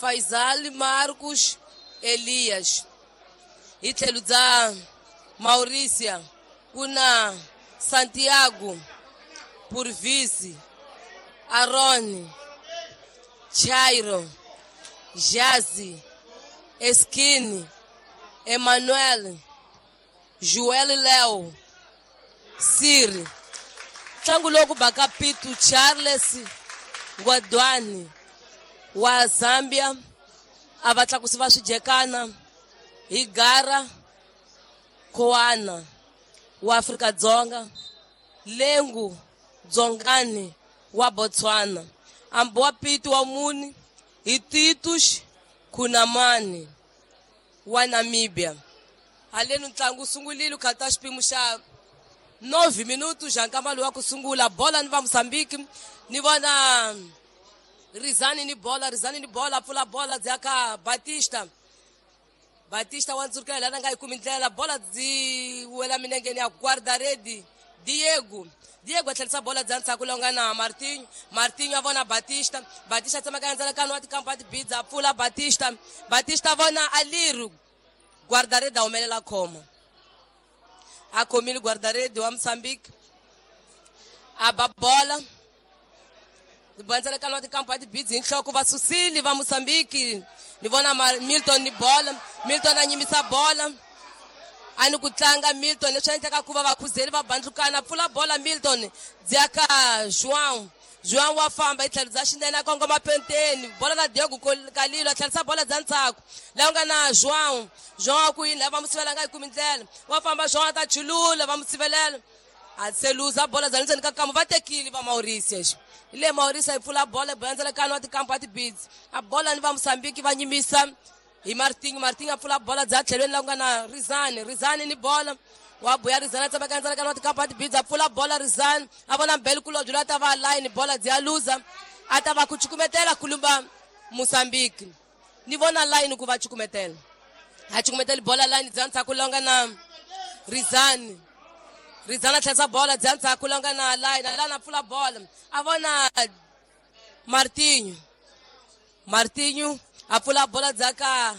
Faisal Marcos Elias. Hi tlhelo bya Mauricia ku na Santiago Purvisi, Aaron Chairo, Jazi, Eskini, Emmanuel, Joel Leo, Siri. Ntlangu lowu ku baka Pitu Charles Ngwadwani wa Zambia a va tlakusi va swijekana hi Gara Koana wa Afrika-Dzonga, Lengu Dzongani wa Botswana, Amboa Pitu wa mune hi Titus Kunamani wa Namibia. Haleni ntlangu wu sungulile kha xipimo xa 9 minutu xa nkama lowu wa ku sungula. Bola ni va Mozambique, ni vona Rizani ni bola, Rizani ni bola, pfula bola bya ka Batista. Batista wa ndzurukela lana nga yi kumi ndlela, bola byi wela minengeni ya guarda-rede Diego. Diego a tlherisa bola bya ndzhaku lowu nga na Martinho. Martinho a vona Batista. Batista a tsemaka ndzalakano wa tikampa tibidza, a pfula Batista. Batista a vona Aliru. Guarda-rede a humelela khoma. A khomile guarda-rede wa Mozambique. A ba bola. Bandzalakano wa tikampa tibidzi hi nhloko va susile va Mozambique. Ni vona Milton ni bola. Milton a nyimisa bola. A ni ku tlanga Milton leswi endlaka ku va vakhuzeli va bandlukana. Pfula bola Milton bya ka João. João wa famba hi tlhelo bya xinene a kongoma penteni. Bola na Diego Kalilo a tlherisa bola bya ndzhaku. Laha ku nga na João. João a ku yini lava va mu sivela nga yi kumi ndlela. Wa famba João a ta chulula va mu sivelela. A se luza bola bya ndzeni ka kambu va tekile va Mauritius. Hi le Mauritius yi pfula bola bola ndzalakano wa tikampu a tibidzi. A bola ni va Mozambique va nyimisa hi Martinho. Martinho a pfula bola bya tlhelweni laha ku nga na Rizani. Rizani ni bola. Wa buya Rizani a tsemaka ndzalakano wa tikampu a tibidzi. A pfula bola Rizani. A vona Mbele Kulobye loyi a ta va line bola bya luza. A ta va ku cukumetela kulumba Mozambique. Ni vona line ku va cukumetela. A cukumeteli bola line bya ndzhaku laha ku nga na Rizani. Rizani a tlherisa bola bya ndzhaku laha ku nga na line. Line a pfula bola. A vona Martinho. Martinho a pfula bola bya ka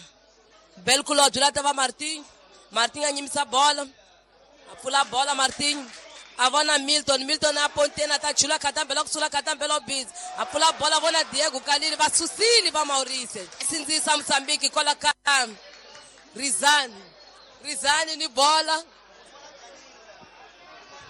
Belkulobye loyi a ta va Martinho. Martinho a nyimisa bola. A pfula bola Martinho. A vona Milton. Milton a ponteni a ta chula khatambela ku sula khatambela busy. A pfula bola vona Diego Kalili va susile va Maurice. Sindzisa Mozambique kwala ka Rizani. Rizani ni bola.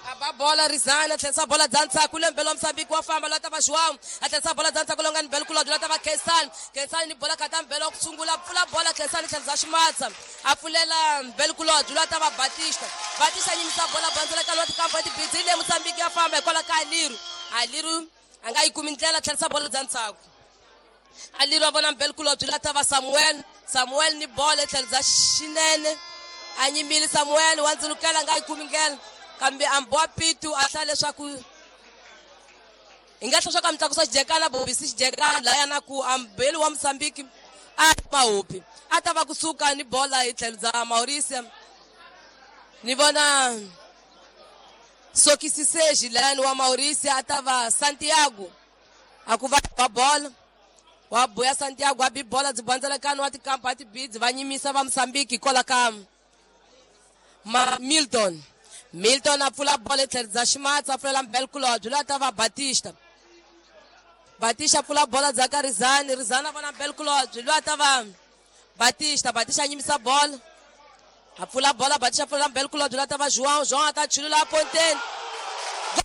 A ba bola Rizani a tlherisa bola bya ndzhaku le mbele wa Mozambique wa famba loyi a ta va João. A tlherisa bola bya ndzhaku lowu nga ni Belkulobye loyi a ta va Khensani. Khensani ni bola khatambela ku sungula pfula bola Khensani tlherisa ximatsa. A pfulela Belkulobye loyi a ta va Batista. Batista a nyimisa bola bandzela wa tikampa tibidzi le Mozambique ya famba hikwalaho ka Aliru. Aliru a nga yi kumi ndlela tlherisa bola bya ndzhaku. Aliru a vona Belkulobye loyi a ta va Samuel. Samuel ni bola tlhelo bya xinene. A nyimile Samuel wa ndzulukela a nga yi kumi ndlela. Kambe Amboa Pitu a hlaya leswaku hi nga hlaya leswaku a mi tlakusa xijekana bobisi xijekana laya na ku ambeli wa Mozambique a mahopi a ta va kusuka ni bola hi tlhelo bya Maurice. Ni vona Sokisiseji layani wa Maurice a ta va Santiago a ku va ba bola. Wa buya Santiago a bi bola byi bandzelekano wa tikampa a tibidzi va nyimisa va Mozambique hikwalaho ka Milton. Milton a pfula bola etlhelo bya ximatsi a pfulela Mbelkulobye loyi a ta va Batista. Batista a pfula bola bya ka Rizani. Rizani a vona Mbelkulobye loyi a ta va Batista. Batista a nyimisa bola. A pfula bola Batista a pfulela Mbelkulobye loyi a ta va João. João a ta chulula a ponteni.